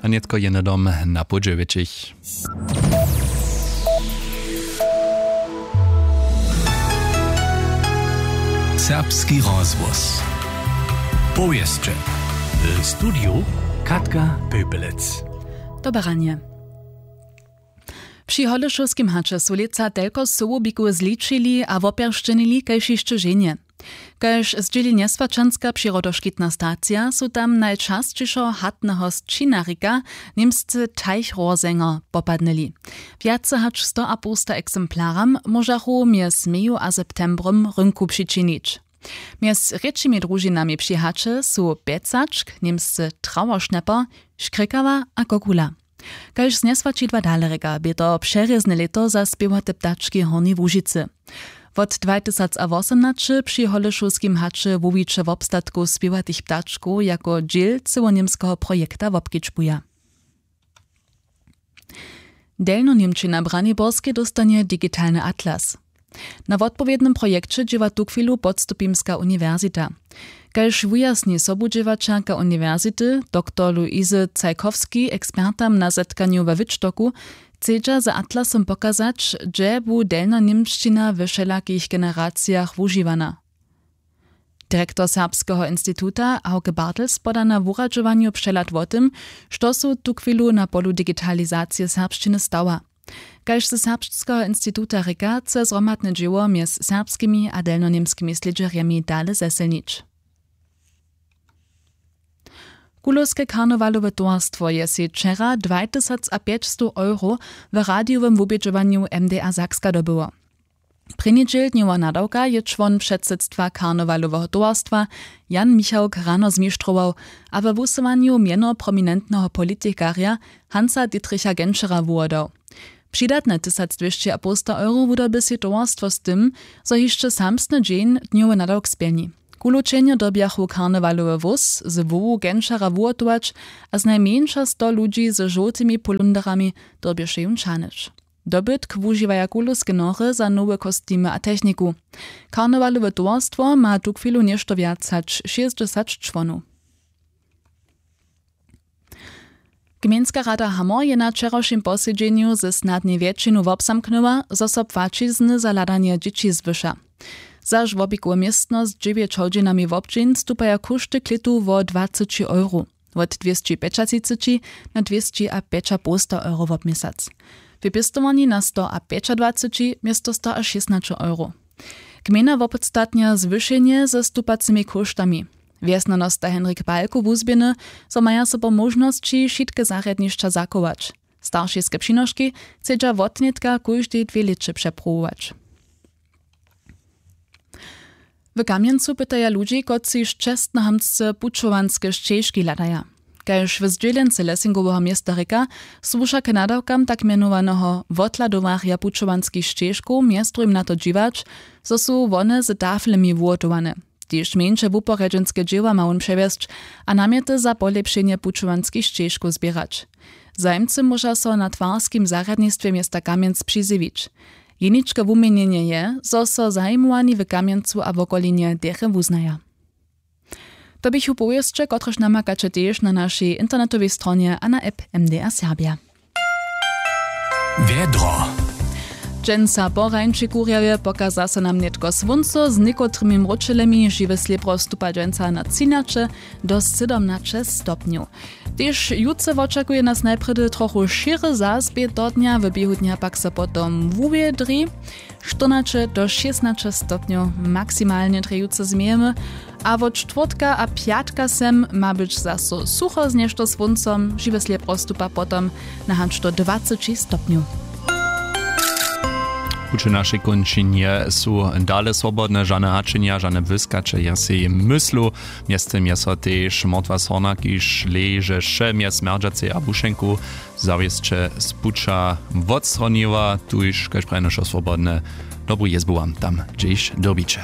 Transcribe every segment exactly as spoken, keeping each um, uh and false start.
A nětko je hnydom na pół dźewjećich. Serbski rozhłos. Powěsće. W studiju Katka Pepelec. Doberanje. Při Hodyšowskim haće su lětsa telko sołubikow zličili a wopjeršćenili kaž hišće ženje. Kaž zdźěli njeswaćanska přirodoškitna stacija, su tam najčasćišo hatneho sćinarika, němsce Teichrohrsänger, popadnyli. Wjace hač stoapołsta eksemplaram móžachu mjez meju a septembrym rynku přičinić. Mjez rěčimi družinami při haće su pjecačk, němsce Trauerschnäpper, škrěkawa a kokula. Kaž z njeswaćidła dale rěka, bě to přerězne lěto za spěwate ptački w Hornjej Łužicy. Wot dwatysacawosomnaće při Hodyšowskim haće hłowiće wobstatkow spěwatych ptačkow jako dźěl cyłoněmskeho projekta wobkedźbuja. Delnjoněmčina w Braniborskej dóstanje digitalny atlas. Na wotpowědnym projekće dźěła tuchwilu Podstupimska uniwersita. Kaž wujasni sobudźěłaćerka uniwersity, doktor Luise Cajkowski, ekspertam na zetkanju we Wittstocku, chcedźa z atlasom pokazać, hdźe bu delnjoněmšćina we wšelakich generacijach wužiwana. Direktor Serbskeho instituta Hauke Bartels poda na wuradźowanju přehlad wo tym, što su tuchwilu na polu digitalizacije serbšćiny stała. Kaž ze Serbskeho instituta rěka, chce zhromadne dźěło mjez serbskimi a delnjoněmskimi slědźerjemi dale zesylnić. Kulowske karnewalowe towarstwo je sej wčera dwatysacapjećstow euro w radijowym wubědźowanju M D A Sakska dobyło. Prěni dźěl dnjoweho nadawka je čłon předsydstwa karnewaloweho towarstwa Jan Michałk rano zmištrował a we wusyłanju mjeno prominentneho politikarja Hansa Dietricha Genschera wuhłodał. Přidatne tysacdwěsćiapołsta euro wudyrbi sej towarstwo z tym, zo hišće samsny dźeń dnjowy nadawk spjelni. Kulow ćehnjo dyrbjachu karnewalowy wóz z hłowu Genschera wuhotować a znajmjeńša sto ludźi ze žołtymi polunderami dyrbješe jón ćahnyć. Dobytk wužiwaja kulowske nory za nowe kostimy a techniku. Karnewalowe towarstwo ma tuchwilu něšto wjac hač šěsćdźesać čłonow. Gmejnska rada Hamor je na wčerawšim posedźenju ze snadnej wjetšinu wobzamknyła, zo so płaćizny za hladanje dźěći zwyša. Za žłobikowe městno z dźewjeć hodźinami wobdźeń stupaja kóšty klětu wo dwaceći euro, wot dwěsći pjećatřiceći na dwěsći a pjećapołsta euro wobměsac, w pěstowarni na sto a pjećadwaceći město sto a šěsnaće euro. Gmejna wopodstatnja zwyšenje ze stupacymi kóštami. Wjesnjanosta Henrik Balko wuzběhny, zo maja so po móžnosći wšitke zarjadnišća zachować. Staršiske přinoški chcedźa wotnětka kóždej dwě lěće přepruwować. W Kamjencu pytaja ludźi, kotřiž čestnohamtsce pućowanske šćežki hladaja. Kaž w zdźělence Lessingoweho města rěka, słuša k nadawkam tak mjenowaneho wothladowarja pućowanskich šćežkow mjez druhim na to dźiwać, zo su wone z taflemi wuhotowane. Tež mjeńše wuporjedźenske dźěła ma wón přewjesć a namjety za polěpšenje pućowanskich šćežkow zběrać. Zajimcy móža so na twarskim zarjadnistwje města Kamjenc přizjewić. Jeničke wuměnjenje je, zo so zajimowani w Kamjencu a wokolinje derje wuznaja. To běchu powěsće, kotrež namakaće tež na našej internetowej stronje a na app M D A Serbja. Wjedro. Dźensa po rańši kurjawje pokaza so nam nětko słónco z někotrymi mróčelemi, žiwe slěbro stupa dźensa na třinaće do sydomnaće stopnjow. Tež jutře wočakuje nas najprjedy trochu šěry, zas bě do dnja, w běhu dnja pak so potom wuwědri. Štyrnaće do šěsnaće stopnjow maksimalnje drje jutře změjemy, a wot štwórtka a pjatka sem ma być zaso sucho z něšto słóncom, žiwe slěbro stupa potom na hač do dwaceći stopnjow. Puće w našej kónčinje su dale swobodne, žane hačenja, žane błyskaće je sej myslu. Mjeztym je so tež motwa z hornaki šleže wše mjez Smjerdźacej a Bušenku zawěsće z puća wotstroniła, tuž, kaž prajene, wšo swobodne. Dobru jězbu wam tam, hdźež dyrbiće.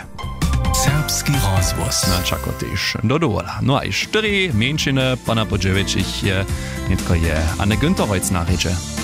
Serbski rozhłos. Na čako tež do dowola. No a i štyri mjeńšiny pona po dźewjećich je, nětko je Anne Günterreutz na rědźe.